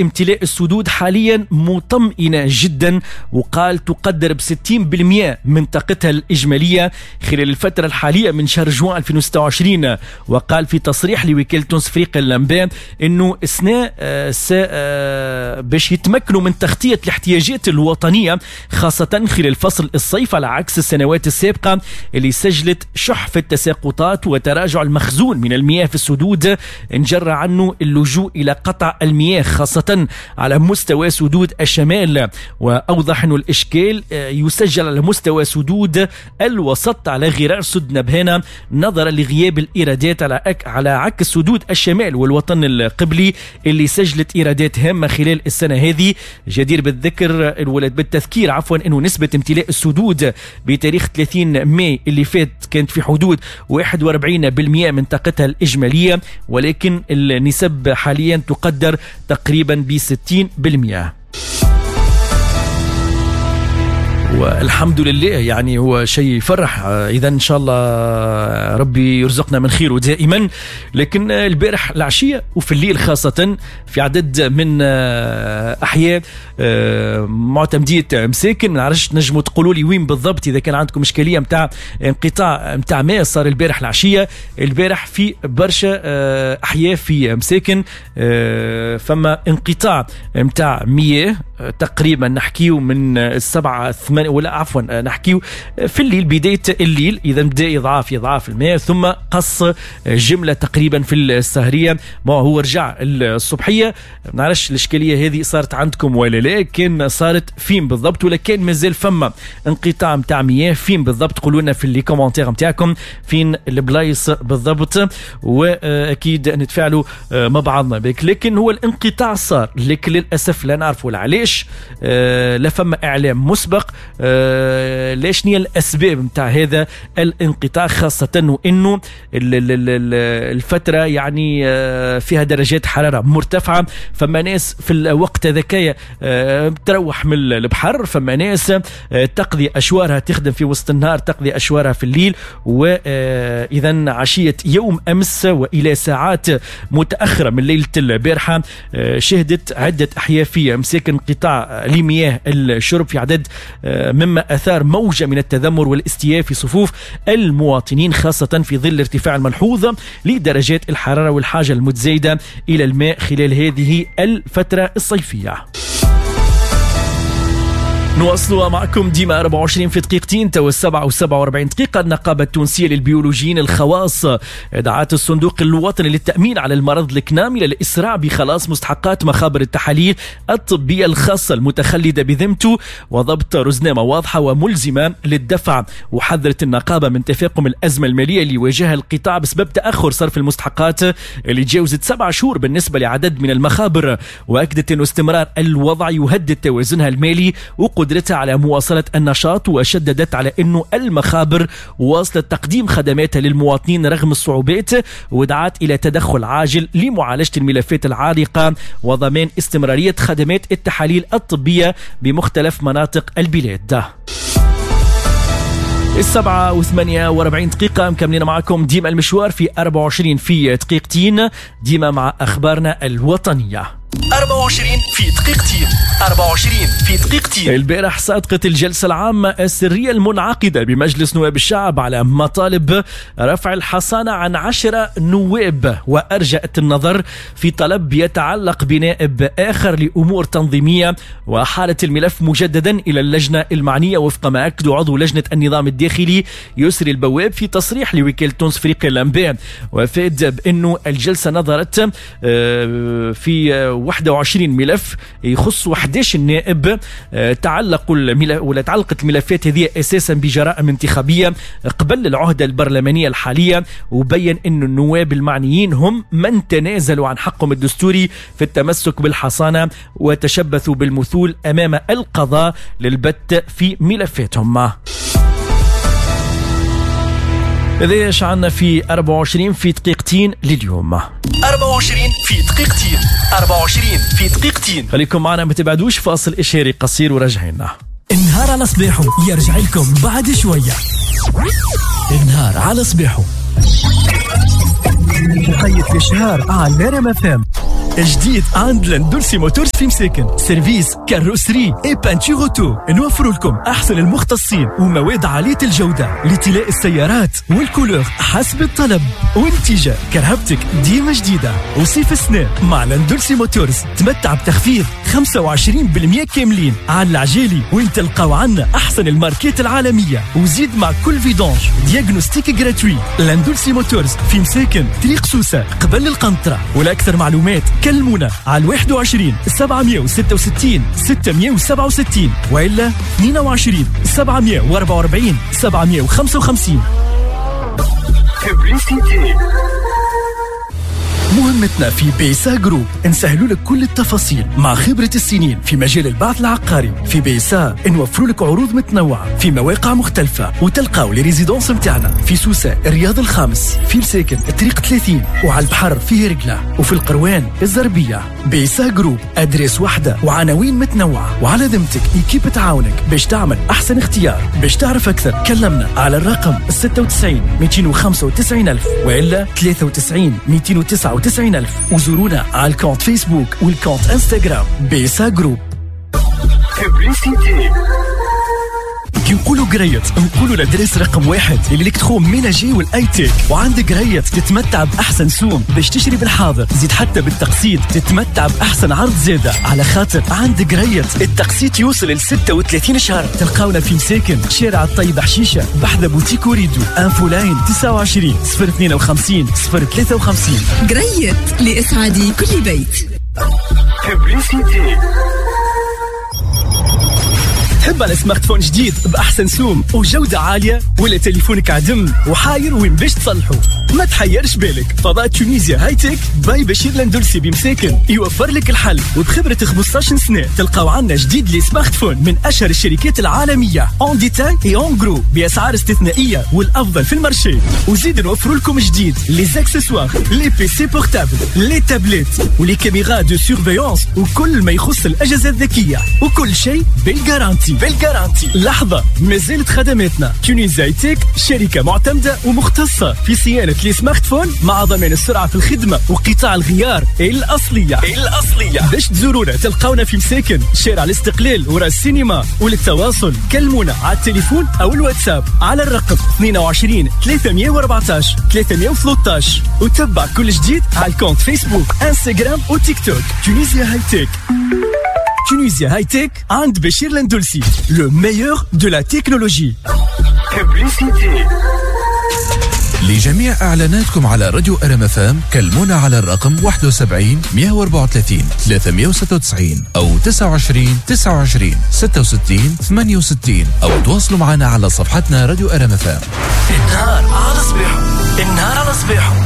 امتلاء السدود حاليا مطمئنة جدا، وقال تقدر ب 60% من طاقتها الإجمالية خلال الفترة الحالية من شهر جوان 2026. وقال في تصريح لوكالة تونس افريقيا للأنباء أنه السنة باش يتمكنوا من تغطية الاحتياجات الوطنية خاصة خلال فصل الصيف، على عكس السنوات السابقة اللي سجلت شح في التساقطات وتراجع المخزون من المياه في السدود انجر عنه اللجوء إلى قطع المياه خاصة على مستوى سدود الشمال. وأوضح أن الإشكال يسجل على مستوى سدود الوسط على غرار سد نبهانة نظرا لغياب الإيرادات على عكس سدود الشمال والوطن القبلي اللي سجلت إيرادات هامة خلال السنة هذه. جدير بالذكر بالتذكير عفوا أنه نسبة امتلاء السدود بتاريخ 30 ماي اللي فات كانت في حدود 41% من طاقتها الإجمالية، ولكن النسب حاليا تقدر تقريبا ب 60%. والحمد لله، يعني هو شيء يفرح. إذا إن شاء الله ربي يرزقنا من خيره دائما. لكن البارح العشية وفي الليل خاصة في عدد من أحياء معتمدية مساكن، ما نعرفش نجموا تقولوا لي وين بالضبط إذا كان عندكم إشكالية متاع انقطاع متاع ماء صار البارح العشية. البارح في برشا أحياء في مساكن فما انقطاع متاع مياه تقريبا، نحكيو من 7-8 ولا عفوا نحكيو في الليل، بداية الليل. إذا بدأ يضعف الماء ثم قص جملة تقريبا في السهرية، ما هو رجع الصبحية. ما نعرفش الإشكالية هذه صارت عندكم ولا لا، كان صارت فين بالضبط ولا كان مازال فما انقطاع متاع مياه فين بالضبط؟ قولوا لنا في les commentaires متاعكم فين البلايص بالضبط، وأكيد نتفاعلوا مع بعضنا بك. لكن هو الانقطاع صار، لكن للأسف لا نعرفوا علاش، لا فما إعلام مسبق، ليش هي الأسباب متاع هذا الانقطاع، خاصة وإنه الفترة يعني فيها درجات حرارة مرتفعة، فما ناس في الوقت هذاك تروح من البحر، فما ناس تقضي أشوارها، تخدم في وسط النهار تقضي أشوارها في الليل. وإذا عشية يوم أمس وإلى ساعات متأخرة من ليلة البارحة شهدت عدة أحياء في مساكن انقطاع لمياه الشرب في عدد، مما أثار موجة من التذمر والاستياء في صفوف المواطنين، خاصة في ظل الارتفاع الملحوظ لدرجات الحرارة والحاجة المتزايدة إلى الماء خلال هذه الفترة الصيفية. نواصلوا معكم ديما 24 في دقيقتين، تو 7:47. النقابة التونسية للبيولوجيين الخواص دعت الصندوق الوطني للتأمين على المرض الكنامي للإسراع بخلاص مستحقات مخابر التحاليل الطبية الخاصة المتخلدة بذمته وضبط رزنامة واضحة وملزمة للدفع. وحذرت النقابة من تفاقم الأزمة المالية اللي واجهها القطاع بسبب تأخر صرف المستحقات اللي تجاوزت 7 شهور بالنسبة لعدد من المخابر، وأكدت أن استمرار الوضع يهدد توازنها المالي وقدرتها على مواصلة النشاط. وشددت على أنه المخابر واصلت تقديم خدماتها للمواطنين رغم الصعوبات، ودعت إلى تدخل عاجل لمعالجة الملفات العالقة وضمان استمرارية خدمات التحاليل الطبية بمختلف مناطق البلاد. 7:48 مكملين معكم ديما المشوار في 24 في دقيقتين، ديما مع أخبارنا الوطنية. 24 في دقيقتين، 24 في دقيقتين. البارح صادقت الجلسة العامة السرية المنعقدة بمجلس نواب الشعب على مطالب رفع الحصانة عن 10 نواب، وأرجأت النظر في طلب يتعلق بنائب آخر لأمور تنظيمية، وحالت الملف مجددا إلى اللجنة المعنية وفق ما أكد عضو لجنة النظام الداخلي يسري البواب في تصريح لوكالة تونس افريقيا للأنباء. وأفاد بأنه الجلسة نظرت في 21 ملف يخص 11 نائب، تعلقوا ولا تعلقت الملفات هذه اساسا بجرائم انتخابية قبل العهده البرلمانية الحالية. وبين ان النواب المعنيين هم من تنازلوا عن حقهم الدستوري في التمسك بالحصانه وتشبثوا بالمثول امام القضاء للبت في ملفاتهم. هذا ايش عندنا في 24 في دقيقتين لليوم. 24 في دقيقتين، 24 في دقيقتين. خليكم معنا ما تبعدوش، فاصل إشهاري قصير وراجعين. النهار على صباحه يرجع لكم بعد شوية. النهار على صباحه. وقيت الاشهار على RMF FM. جديد عند لندولسي Motors في مساكن، service carrosserie et peinture auto. نوفر لكم احسن المختصين ومواد عالية الجودة لطلاء السيارات وال couleur حسب الطلب، ونتيجة كرهبتك ديما جديدة. وصيف السنة مع لندولسي Motors تمتع بتخفيض 25% كاملين على العجالي، وين تلقاو عنا احسن الماركات العالمية، وزيد مع كل vidange diagnostic gratuit. لندولسي Motors في مساكن، طريق سوسة قبل القنطرة. ولاكثر معلومات كلمونا على 21 766 667 والا 22 744 755. مهمتنا في بيسا Group نسهلوا لك كل التفاصيل مع خبرة السنين في مجال البعث العقاري. في بيسا نوفروا لك عروض متنوعة في مواقع مختلفة، وتلقاو les résidences نتاعنا في سوسة الرياض الخامس، في مساكن طريق 30، وعلى البحر في هرقلة، وفي القروان الزربية. بيسا Group adresse واحدة وعناوين متنوعة، وعلى ذمتك équipe تعاونك باش تعمل أحسن اختيار. باش تعرف أكثر كلمنا على الرقم 96 295 ألف وإلا 93 299 ألف، وزورونا على ال compte فيسبوك وال compte انستغرام بيسا Group. كي نقولوا قريت نقولوا l'adresse رقم 1 l'électroménager وال high-tech. وعند قريت تتمتع باحسن سوم باش تشري بالحاضر، زيد حتى بالتقسيط تتمتع باحسن عرض زاده، على خاطر عند قريت التقسيط يوصل ل 36 شهر. تلقاونا في مساكن شارع الطيب حشيشه بحذا بوتيك وريدو. infoline 29 052 053. قريت لاسعاد كل بيت. تحب على smartphone جديد بأحسن سوم وجودة عالية، ولا تليفونك عدم وحاير وين باش تصلحه؟ ما تحيرش بالك، فضاء Tunisia High-Tech by بشير لندلسي بمساكن يوفر لك الحل. وبخبرة 15 سنة تلقاو عنا جديد les smartphones من أشهر الشركات العالمية en détail et en gros بأسعار استثنائية والأفضل في ال marché. وزيد نوفر لكم جديد les accessoires، les PC portables، les tablettes و les caméras de surveillance وكل ما يخص الأجهزة الذكية، وكل شيء بال garantie. بال garantie. لحظة، ما زالت خدماتنا Tunisia High-Tech شركة معتمدة ومختصة في صيانة les smartphones مع ضمان السرعة في الخدمة وقطاع الغيار الأصلية. باش تزورونا تلقاونا في مساكن شارع الاستقلال وراء السينما. وللتواصل كلمونا على التليفون أو الواتساب على الرقم 22 314 313، وتبع كل جديد على ال compte فيسبوك انستغرام وتيك توك Tunisia High-Tech. Tunisia High-Tech عند بشير لندلسي، le meilleur de la technologie. لجميع اعلاناتكم على راديو RMF FM كلمونا على الرقم 71 134 396 او 29 29 66 68، او تواصلوا معنا على صفحتنا راديو RMF FM. النهار على صباحه، النهار على صباحه.